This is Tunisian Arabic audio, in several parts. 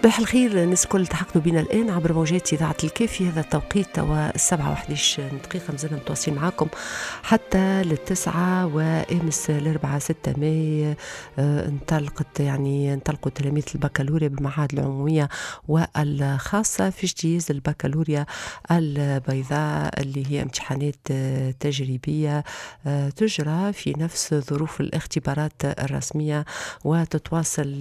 صباح الخير الناس الكل، التحقتوا بنا الآن عبر موجات إذاعة الكاف في هذا التوقيت 7:11، مازلنا متواصلين معاكم حتى 9. وأمس الأربعاء 6 ماي انطلقت يعني انطلقوا تلاميذ البكالوريا بالمعاهد العمومية والخاصة في اجتياز البكالوريا البيضاء، اللي هي امتحانات تجريبية تجرى في نفس ظروف الاختبارات الرسمية، وتتواصل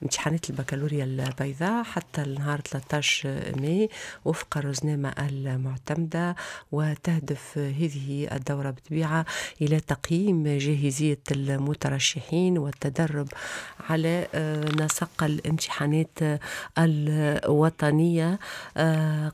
امتحانات البكالوريا البيضاء حتى النهار 13 ماي وفق الرزنامة المعتمدة. وتهدف هذه الدورة بالطبيعة إلى تقييم جاهزية المترشحين والتدرب على نسق الامتحانات الوطنية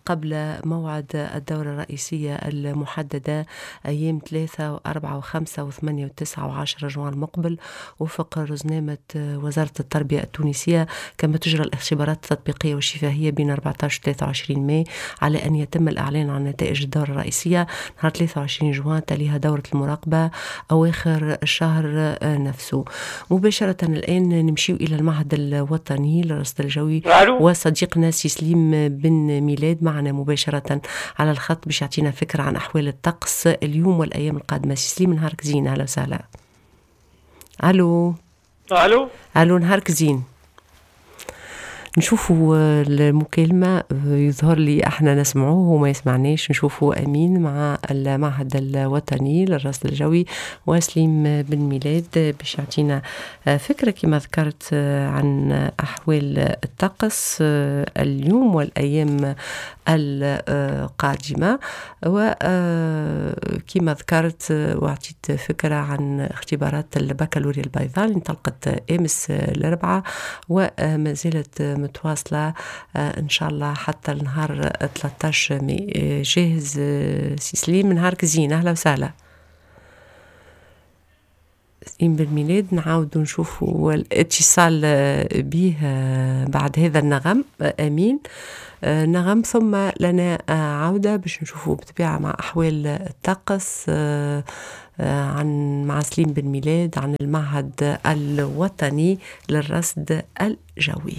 قبل موعد الدورة الرئيسية المحددة أيام 3 و4 و5 و8 و9 و10 جوان المقبل وفق رزنامة وزارة التربية التونسية. كما تجرى الاختبارات التطبيقية والشفاهية بين 14 و 23 ماي، على أن يتم الإعلان عن نتائج الدورة الرئيسية نهار 23 جوان، تليها دورة المراقبة أواخر الشهر نفسه. مباشرة الآن نمشي إلى المعهد الوطني للرصد الجوي وصديقنا سي سليم بن ميلاد معنا مباشرة على الخط باش يعطينا فكرة عن أحوال الطقس اليوم والأيام القادمة. سي سليم، نهارك زين، أهلا وسهلا. ألو. الو. الو، نهارك زين. نشوفوا المكالمة، يظهر لي احنا نسمعوه وما يسمعناش. نشوفوا أمين مع المعهد الوطني للرصد الجوي وسليم بن ميلاد باش يعطينا فكرة كما ذكرت عن أحوال الطقس اليوم والأيام القادمة، وكما ذكرت وأعطيت فكرة عن اختبارات البكالوريا البيضاء اللي انطلقت أمس الأربعاء وما زالت متواصلة إن شاء الله حتى النهار 13 ماي. جاهز سي سليم؟ نهارك زين، أهلا وسهلا. سليم بالميلاد نعاود نشوفوا الاتصال به بعد هذا النغم. امين، نغم ثم لنا عودة باش نشوفوا بطبيعة مع أحوال الطقس عن مع سليم بن ميلاد عن المعهد الوطني للرصد الجوي.